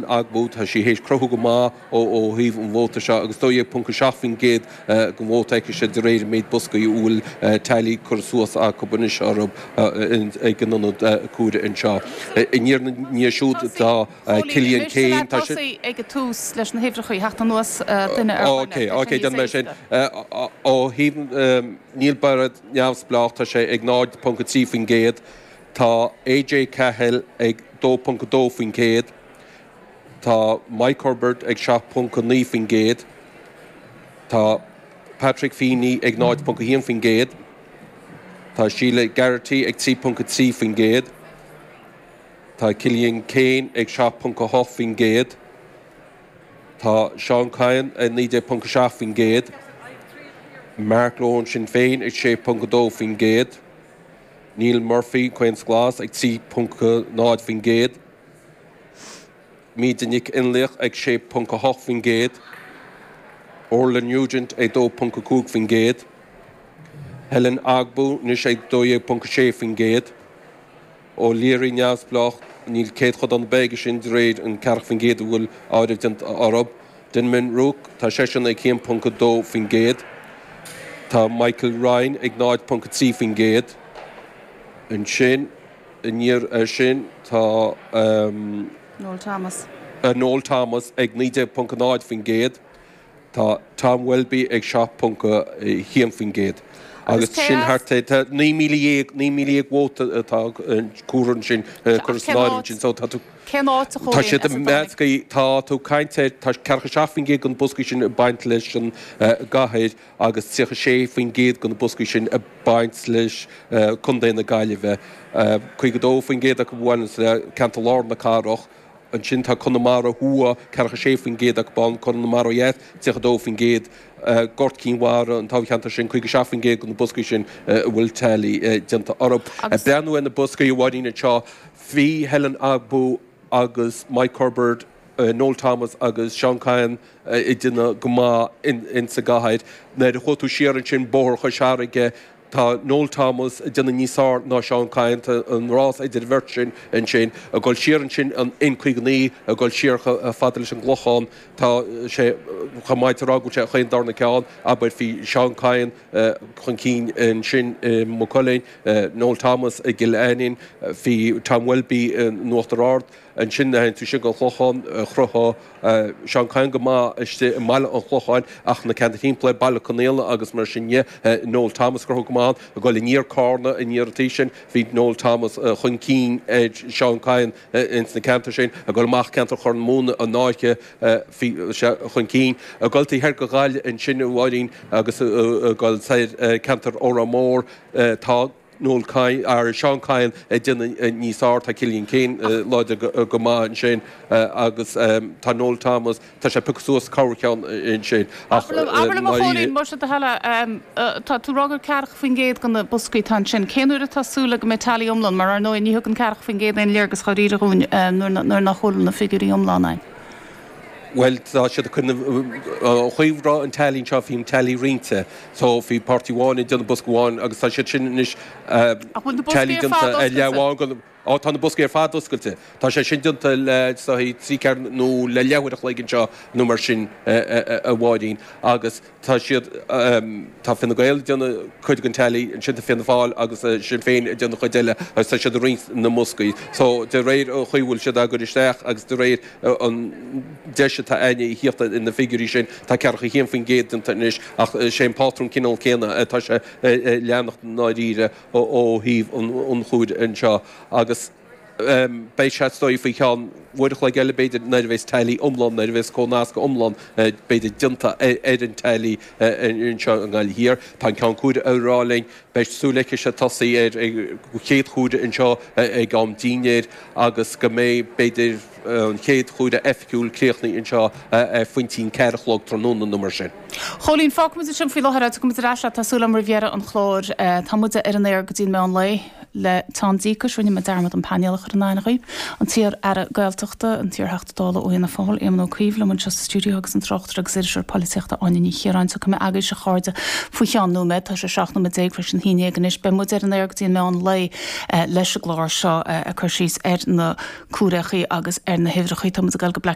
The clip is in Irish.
Ogbu, tá sí théis cruthú go maith ó thaobh an vóta seo agus 12.7% den vóta aicise de réir an méid boscaí a bhfuil teailí curtha suas acu anois orthu ag an ionad comhairimh anseo. Aniar ina ndiaidh siúd tá Cillian Keane, tá sé. Tosaigh ag an tús leis na huimhreacha, theacht anuas duine ar dhuine. Ok, ok, déanfaidh mé sin. Ó thaobh Neil Barrett neamhspleách, tá sé ag 0.3%, tá AJ Cahill ag 2.2%, Tá Mike Hubbard ag 7.9%, tá Patrick Feeney ag 0.1%, tá Sheila Geraghty ag 3.3%, tá Cillian Keane ag 7.8%, tá Seán Kyne ag 19.7%, Mark Lohan Sinn Féin ag 6.2%, Neil Murphy, Comhaontas Glas, ag 3.0%. Míde Nic Fhionnlaoich ag 6.8%, Orla Nugent ag 2.5%, Helen Ogbu anois ag 12.6%, O'Leary neamhspleách, níl céadchodán ar bith aige sin de réir an 40% a bhfuil áireamh déanta orthu, Denman Rourke, tá seisean ag 1.2%, tá Michael Ryan ag 0.3%, ansin. Aniar air sin tá. Noel Thomas. Noel Thomas ag 19.0%, tá Tom Welby ag 7.1% agus sin thart ar 19,000, 19,000 vóta atá curtha ansin, curtha san áireamh ansin. So tá tú. Cén áit a Tá siad measctha, tá tú ag caint ar, tá 47% den boscaí sin ag baint leis an gcathair. agus 36% de na boscaí sin ag baint leis Contae na Gaillimhe, 52% acu a bhaineanns le ceantar lár na cathrach. Ansin tá Conamara Thuaidh, 46% acu ann, Conamara Ó Dheas, 32%, Gort Cinn Mhara, an toghcheantar sin, 57% de na boscaí sin a bhfuil teailí déanta orthu. Ag breathnú ar na boscaí, a Mháirín, anseo, bhí Helen Ogbu agus Mike Hubbard, Noel Thomas agus Seán Kyne ag déanamh go maith insa gcathair. Nuair a chuaigh tú siar ansin Bóthar Chois Fharraige, tá Noel Thomas ag déanamh níos fearr ná Seán Kyne, tá an rás idir an bheirt sin ansin. Ag dul siar ansin an N59, ag dul siar chomh fada leis an gClochán, tá sé chomh maith a rá go bhfuil sé chaon darna ceann, abair, bhí Seán Kyne chun cinn ansin i Maigh Cuilinn, Noel Thomas i gCill Ainnín, bhí Tom Welby in Uachtar Ard. Ansin théann tú siar go an Clochán, chruthaigh Seán Kyne go maith istigh i mbaile an Chlocháin ach na ceantair thimpeall air, Baile Conaola agus mar sin dhe, Noel Thomas ag cruthú go maith ann. Ag dul aniar Carna, aniar an taobh sin, bhí Noel Thomas chun cinn ar Seán Kyne ins na ceantair sin. Ag dul amach ceantar Chorr na Móna, an Fháiche, bhí sé chun cinn. Ag dul taobh thoir de Ghaillimh ansin, a Mháirín, agus ag dul soir ceantar Órán Mór, tá. Noel Kyne, ar Seán Kyne ag déanamh níos fearr, tá Cillian Keane láidir go maith ansin agus tá Noel Thomas, tá sé pioctha suas corrcheann ansin ach Abair liom a Chóilín, más é do thoil é, tá tú ag rá gur 40% de na boscaí atá ansin, cén uair atá súil le go mbeidh tally iomlán, mar ar ndóigh ní thugann 40% aon léargas dháiríre dhúinn nuair nach bhfuil na figiúirí iomlána ann. Bhuel, tá siad ag cur na, an chaoi a raibh an tally anseo, bhí an tally roinnte. So, bhí páirtí amháin ag déanamh bosca amháin agus tá siad sin anois, Ach bhfuil na boscaí tally ar déanta fad ar leath oscailte? amháin den, Á, tá na boscaí ar fad oscailte. Tá sé sin déanta le, is dóigh, trí ceathair nó le leathuair a chloig anseo nó mar sin, a Mháirín. Agus. Tá siad, tá Fine Gael ag déanamh cuid den tally, ansin tá Fianna Fáil agus Sinn Féin ag déanamh cuid eile agus tá siad ag roinnt na mboscaí. So, de réir an chaoi a bhfuil siad á gcur isteach agus de réir an deis atá againne a thíocht ar na figiúirí sin, tá 41% déanta anois ach sé an pátrún cineál céanna atá sé ag leanacht i ndáiríre ó thaobh an chomhairimh anseo agus. Beidh sé is dóigh faoi cheann uair a chloig eile b'fhéidir nuair a bheas tally iomlán, nuair a bheas comhnascadh iomlán b'fhéidir déanta ar an tally anseo i nGaillimh Thiar. Tá an Ceann Comhairimh ag rá linn, beidh súil aici tosaí ar an chéad chomhaireamh anseo ag am dinnéir agus go mbeidh b'fhéidir an chéad chomhaireamh oifigiúil críochnaithe anseo ar phointí an ceathair a chlog tráthnóna nó mar sin. Chóilín, fágfaimid ansin faoi láthair é, tiocfaimid ar ais leat, tá súil agam roimh dheireadh an chláir. Tá muide ar an aer go dtí an meán lae le teann díocais. Rinne mé dearmad an painéal a chur in aithne dhaoibh. An t-iar-aire Gaeltachta, an t-iar-Theachta Dála ó Fhianna Fáil, Éamon Ó Cuív liom anseo sa stiúideo agus an tráchtaire agus iriseoir polaitíochta Áine Ní Chiaráin. Tiocfaidh mé agaibhse a chairde faoi cheann nóiméad. Tá sé 17 nóiméad tar éis an haon dhéag anois. Beidh muid ar an aer go dtí an meán lae leis an gclár seo ag cur síos ar na cúréachaí agus ar na huimhreachaí. Tá muid ag dul go Black.